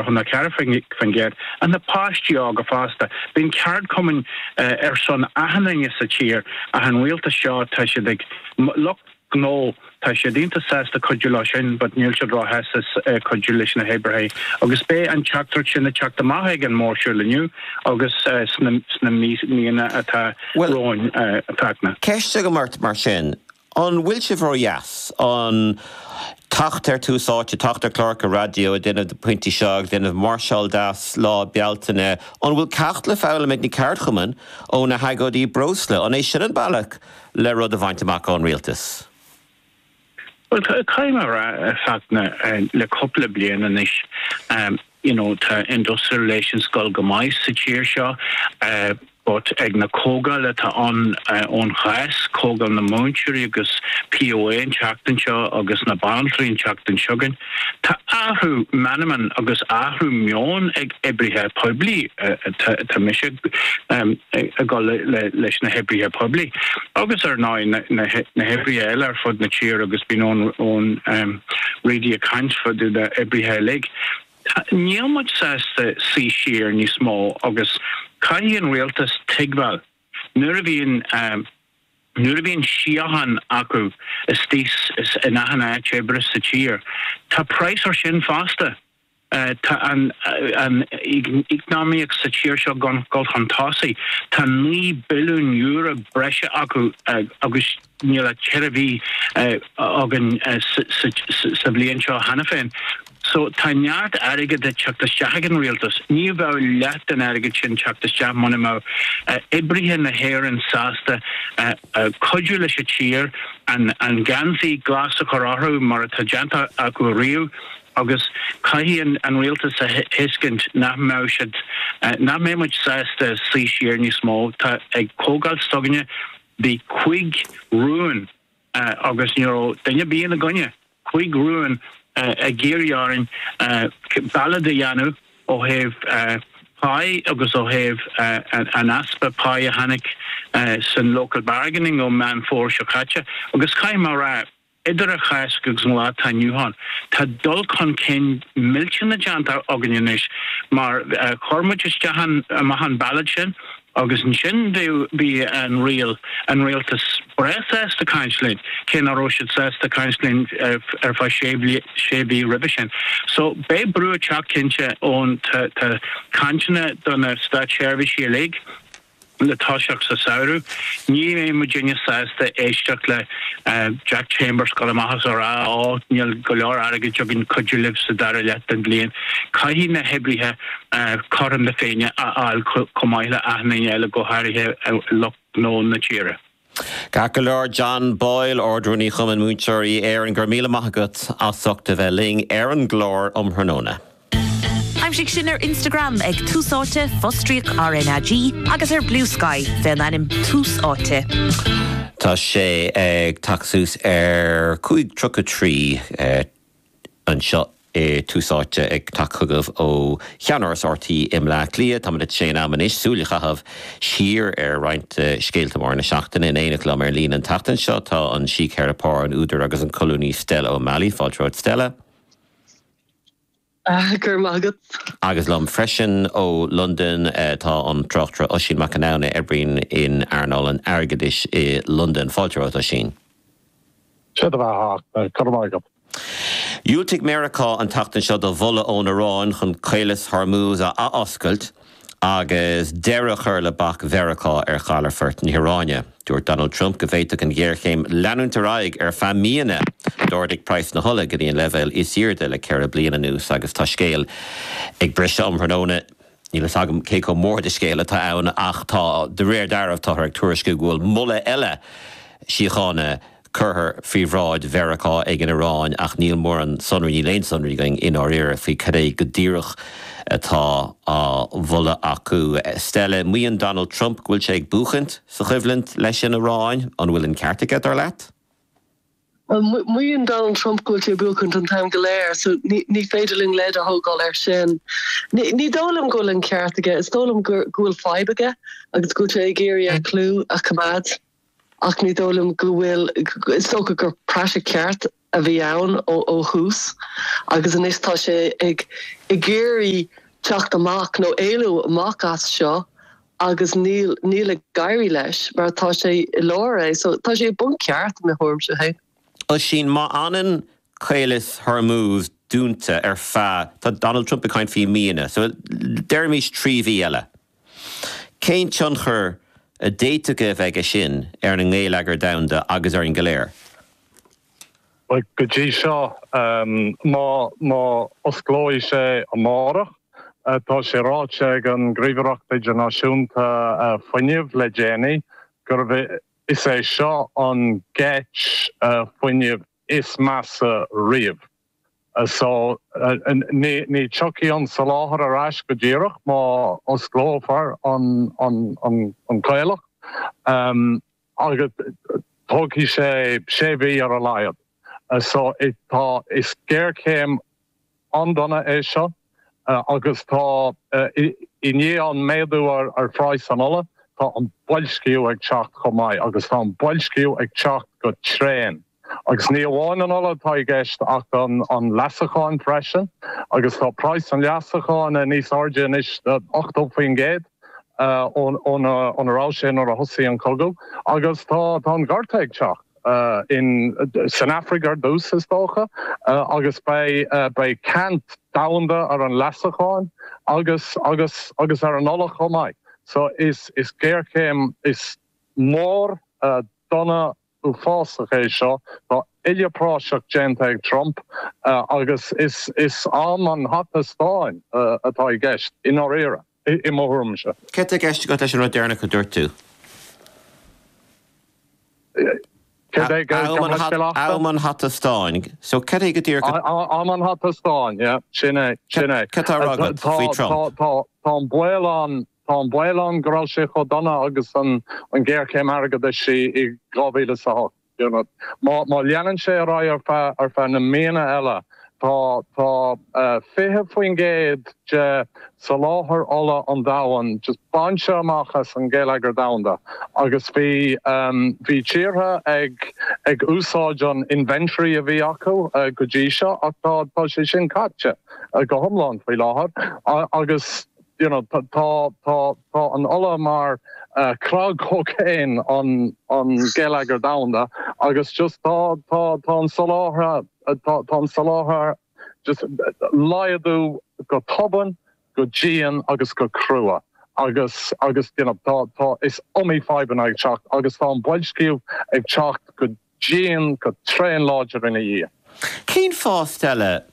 34% ach na páistí óga fosta. Bíonn ceardchumainn ar son achan duine sa tír ach an rialtas seo tá siad ag lucht gnó tá siad iontach sásta cuidiú leo sin but níl siad róshásta cuidiú leis na hoibrithe agus beidh an teachtaireacht sin ag teacht amach ag an mórshiúl inniu agus sna sna míonna atá romhainn a Fhachtna. Ceist agam ort mar sin, An bhfuil sibh ródheas? An teacht ar Tús Áite, teacht ar chláracha raidió, ag déanamh na pointí seo, ag déanamh máirseáil deas Lá Bealtaine, an bhfuil ceacht le foghlaim ag na ceardchumainn ó na hagóidí breosla? An é sin an bealach le rud a bhaint amach ón rialtas? Bhuel, caithfidh mé a rá, a Fhachtna, le cúpla bliain anois, you know, tá industrial relations ag dul go maith sa tír seo. But ag na comhdháil atá ann ón Cháisc, comhdháil na múinteoirí agus POA an tseachtain seo agus na banaltraí an tseachtain seo chugainn, tá athrú meanman agus athrú meoin ag oibrithe poiblí, tá mise ag dul leis na hoibrithe poiblí agus ar ndóigh na hoibrithe eile ar fud na tíre agus bíonn Eoin Reidy ag caint fá dtaobh d'oibrithe uilig. Níl muid sásta suí siar níos mó agus caithfidh an rialtas tuigbheáil nuair a bhíonn nuair a bhíonn síocháin acu istigh in achan áit oibre sa tír, tá praghas ar sin fosta. Tá an an eacnamaíocht sa tír seo ag dul chun tosaigh. Tá €9 billiún breise acu agus Níl ach 4 mhí againn sa bhliain seo cheana féin. So tá neart airgid ag teacht isteach ag an rialtas. Ní bheadh leath den airgead sin teacht isteach muna mbeadh oibrithe na hÉireann sásta cuidiú leis an tír, an geansaí glas a chur orthu mar atá déanta acu ariamh agus caithfidh an rialtas a thuiscint nach mbeadh siad, nach mbeidh muid sásta suí siar níos mó. Tá ag comhdháil s'againne Bhí cuig rún agus ní raibh duine ar bith ina gcoinne, cuig rún ag iarraidh orainn ballad a dhéanamh ó thaobh páí agus ó thaobh an easpa páí a tháinig san local bargaining ó Meán Fómhair seo caite. Agus caithfidh mé a rá, Idir an Cháisc agus an lá atá inniu ann, tá dul chun cinn millteanach déanta againn anois mar chuir muid isteach an, amach an ballad sin agus ansin bhí an riail, an rialtas breá sásta caint linn, cé nach raibh siad sásta caint linn ar feadh sé sé mhí roimhe sin. So beidh brú ag teacht cinnte ón, tá cainteanna do na státseirbhísigh uilig, le toiseacht sa samhradh. Ní bheidh muidinne sásta éisteacht le Jack Chambers dul amach is a rá ó níl go leor airgid againn cuidiú libh sa dara leath den bhliain. Caithfidh na hoibrithe cothrom na Féinne a fháil chomh maith le achan duine eile, go háirithe lucht gnó na tíre. Ceart go leor, John Boyle, Ard-Rúnaí Chumann Múinteoirí Éireann, go raibh míle maith agat as ucht a bheith linn ar an gclár um thráthnóna. Aimsigh sinn ar Instagram ag Tús Áite, fostríoc RnaG, agus ar Bluesky fén ainm Tús Áite. Tá sé ag teacht suas ar 5:33 anseo i Tús Áite ag teacht chugaibh ó cheannáras RTÉ i mBleá Cliath. Táimid tar éis an am anois súil a chaitheamh siar ar roinnt de scéalta móra na seachtaine. In éineacht liom ar líne an tseachtain seo tá an síctheiripeoir, an údar agus an colúnaí Stella O'Malley. Fáilte romhat Stella. Go raibh maith agat. Agus liom freisin ó Londain tá an tráchtaire Oisín Mac Con Anna a oibríonn in earnáil an airgeadais i Londain. Fáilte romhat Oisín. Sé do bheatha, go raibh maith agat. Dhiúltaigh Meiriceá an tseachtain seo do mholadh ón Iaráin chun Caolas Hormuz a athoscailt agus deireadh a chur le bac Mheiriceá ar chalafort na hIaráine. Dúirt Donald Trump go bhféadfadh an ghéarchéim leanúint ar aghaidh ar feadh míonna. D'ardaigh praghas na hola go dtí an leibhéal is airde le 4 bliana anuas agus tá scéal ag briseadh um thráthnóna. Níl fhios agam cé chomh mór de scéal atá ann ach tá, de réir dealraimh, táthar ag tuairisciú go bhfuil moladh eile síochána curtha faoi bhráid Mheiriceá ag an Iaráin ach níl mórán sonraí, níl aon sonraí againn i ndáiríre faoi cad é go díreach atá á mholadh acu. Stella, maíonn Donald Trump go bhfuil sé ag buachaint sa choimhlint leis an Iaráin. An bhfuil an ceart aige, dar leat? Bhuel, maíonn Donald Trump go bhfuil sé ag buachaint an t-am go léir, so ní féidir linn leid a thógáil air sin. Ní dóigh liom go bhfuil an ceart aige. Is dóigh liom go bhfuil fadhb aige agus go bhfuil sé ag iarraidh a chlú a choimeád. Ach ní dóigh liom go bhfuil, is dócha gur praiseach ceart. a bhí ann ó thús agus anois tá sé ag ag iarraidh teacht amach nó éalú amach as seo agus níl níl ag éirí leis mar tá sé i lár é so tá sé i bponc ceart i mo thuairimse féin. Oisín, má fhanann Caolas Hormuz dúnta ar feadh, tá Donald Trump ag caint faoi míonna, so deirimis 3 mhí eile. Cén tionchar a d'fhéadfadh a bheith aige sin ar an ngeilleagar domhanda agus orainn go léir? Bhuel, go dtí seo, má má osclóidh sé amárach, tá sé ráite ag an Ghníomhaireacht Idirnáisiúnta Fuinnimh le déanaí gurbh is é seo an gheit fuinnimh is measa riamh. So, ní ní tiocfaidh an soláthar ar ais go díreach má osclófar an an an caolach agus tógfaidh sé sé mhí ar a laghad. So, tá, is géarchéim an-dona é seo agus tá, i ndiaidh an méadú ar phraghas an ola, tá an boilsciú ag teacht chomh maith agus tá an boilsciú ag teacht go tréan. Agus ní amháin an ola atá i gceist ach an leasachán freisin agus tá praghas an leasacháin níos airde anois 80% óna raibh sé nuair a thosaigh an cogadh agus tá an gorta ag teacht in san Afraic ar dtús is dócha agus beidh beidh ceant domhanda ar an leasachán agus agus agus ar an ola chomh maith. So is is géarchéim is mór dona uafásach é seo. Tá uile praiseach déanta ag Trump agus is is am an hata stáin atá i gceist, i ndáiríre, i mo thuairimse. Céard tá i gceist agat leis an rud deireanach a dúirt tú? Céard é? Gabh mo leithscéal Am an hata stáin. So céard é go díreach a. Am an hata stáin, yeah. Sin é, sin é. Céard tá á rá agat faoi Trump? Tá an baol ann Tá an baol ann go raibh sé chomh dona agus an ghéarchéim airgeadais i 2008. Má leanann sé ar aghaidh ar feadh na míonna eile, tá tá 20% de soláthar ola an domhain just bainte amach as an gheilleagar domhanda agus bhí bhí tíortha ag ag úsáid an inventory a bhí acu go dtí seo ach tá tá sé sin caite go hiomlán faoi láthair agus you know, tá, tá, tá an ola mar cnag cocaine an, an geilleagar domhanda agus just tá, tá, tá an soláthar, tá, tá an soláthar just laghdú go tobann, go dian agus go crua agus, agus you know, tá, tá, is iomaí fadhbanna ag teacht agus tá an boilsciú ag teacht go dian, go tréan láidir ina dhiaidh. Cén fáth, Stella?